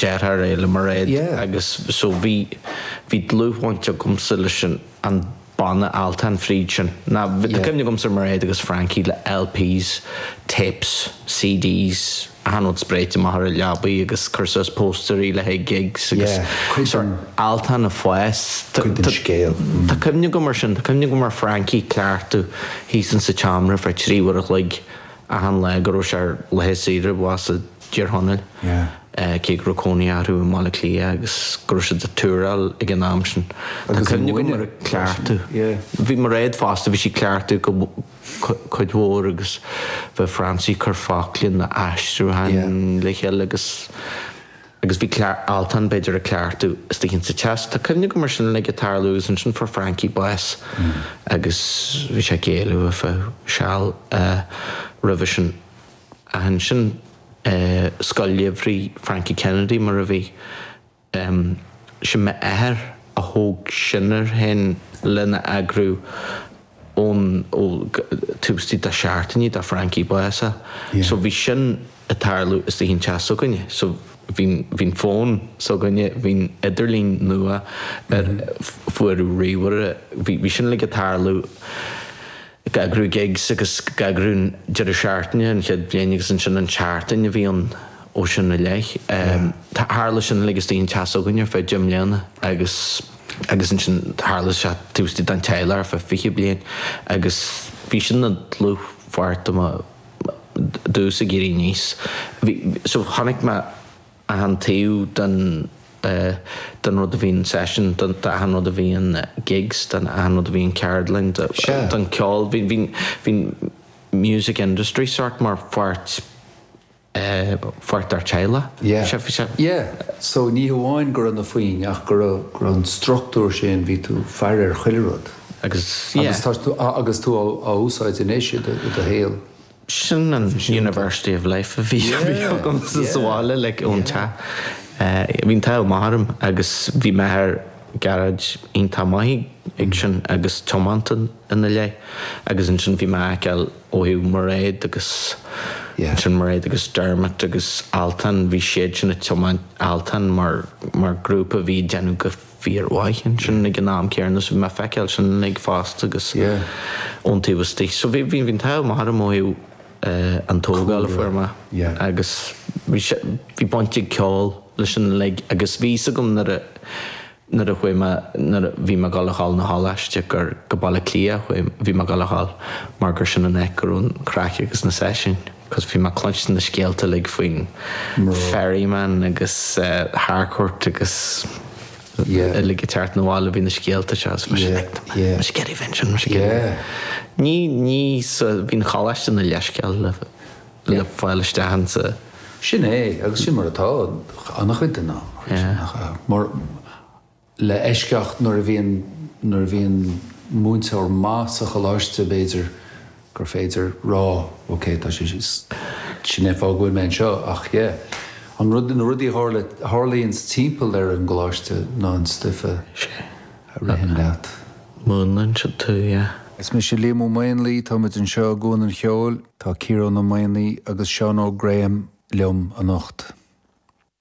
deartháir é le Mairéad agus so bhí bhí dlúthbhaint agamsa leis an an banna Altan fríd sin. Ná tá cuimhne agamsa ar Mairéad agus Frankie le LPs, tapes, CDs, achan rud spréite amach ar an leabaidh agus cur suas póstairí le haghaidh gigs agus sort Altan ag fás. Cuid den scéal. Tá cuimhne agam ar sin, tá cuimhne agam ar Frankie ag cleachtadh thíos insa tseomra ar feadh 3 uair a chloig achan lá go raibh sé ar laetha saoire abhus i dTír Chonaill, cé go raibh cónaí orthu i mBaile Átha Cliath agus go raibh siad ag túráil ag an am sin. Tá cuimhne agam ar ag cleachtadh. Bhí Mairéad fosta, bhí sí ag cleachtadh go cuid mhór agus bheadh Francie ag cur focla na aistriúcháin le chéile agus agus bhí Altan b'fhéidir ag cleachtadh istigh insa teach. Tá cuimhne agam ar sin uilig ag tarlú agus ansin fuair Frankie bás agus bhí sé ag géilleadh ar feadh seal roimhe sin. Ach ansin Scoil Gheimhridh Frankie Kennedy mar a bhí. Sin m'athair a thóg sin air féin lena eagrú ón ó taobh istigh de seachtainí de Frankie bás. So bhí sin ag tarlú istigh in teach s'againne. So bhí bhí an fón s'againne, bhí an idirlíon nua ar fuaireadh ríomhaire, bhí bhí sin uilig ag tarlú. ag eagrú gigs agus ag eagrú an deireadh seachtaine an chéad bhliain agus ansin an tseachtain a bhí ann ó sin i leith. Tharla sin uilig istigh in teach s'againne ar feadh deich mbliana agus agus ansin tharla sé taobh istigh den teaghlach ar feadh 20 bliain agus bhí sin ina dlúthpháirt de mo domsa ag éirí aníos. Bhí so chonaic mé achan taobh den den rud a bhíonn session, den achan rud a bhíonn gigs, den achan rud a bhíonn ceardlann, den ceol. Bhí bhí bhí music industry sort mar pháirt pháirt dár teaghlach. Yeah. Sea, bhí sé. Yeah. So ní hamháin go raibh na foinn ach go raibh go raibh an struchtúr sin, bhí tú faire ar chuile rud. Agus yeah. Agus tá tú agus tú á úsáid anois i do i do shaol. Sin an University of Life a bhí agamsa sa bhaile like ón teach. Bhí an t-ádh maith orm agus bhí m'athair Gearóid iontach maith ag sin agus tiomanta ina leith agus ansin bhí mé á fheiceáil ó thaobh Mairéad agus ansin Mairéad agus Dermot agus Altan, bhí siad sin ag tiomáint Altan mar mar grúpa a bhí ag déanamh go fíormhaith ansin ag an am céanna so bhí mé ag feiceáil sin uilig fosta agus ón taobh istigh. So bhí bhí an t-ádh maith orm ó thaobh an tógáil a fuair mé agus bhí sé bhí baint ag ceol leis sin uilig agus bhí fhios agam nuair a nuair a chuaigh mé nuair a bhí mé ag dul a dhul 'na choláiste gur go Baile Átha Cliath a chuaigh bhí mé ag dul a dhul mar gur sin an áit go raibh an craic agus na seisiúin cos bhí mé ag cluinstin na scéalta uilig faoin Ferryman agus Harcourt agus uilig ag teacht 'na bhaile bhí na scéalta seo agus mise like tá mise ag iarraidh bheith ansin mise ag iarraidh ní ní sa bhí an choláiste ina leithscéal le le fáil isteach insa. Sin é agus sin mar atá an-chuid den am mar Le eisceacht nuair a bhíonn nuair a bhíonn múinteoir maith sa choláiste b'fhéidir gur féidir rá ok tá sé sin é fáth go bhfuil mé anseo ach yeah an rud na rudaí a tharla tharlaíonns timpeall ar an gcoláiste ná an stuif a a ritheann leat. Múnlaíonn siad tú yeah. Is mise Liam Ó Maonlaí, tá muid anseo i gCuan an Cheoil, tá Ciarán Ó Maonaigh agus Seán Óg Graham liom anocht.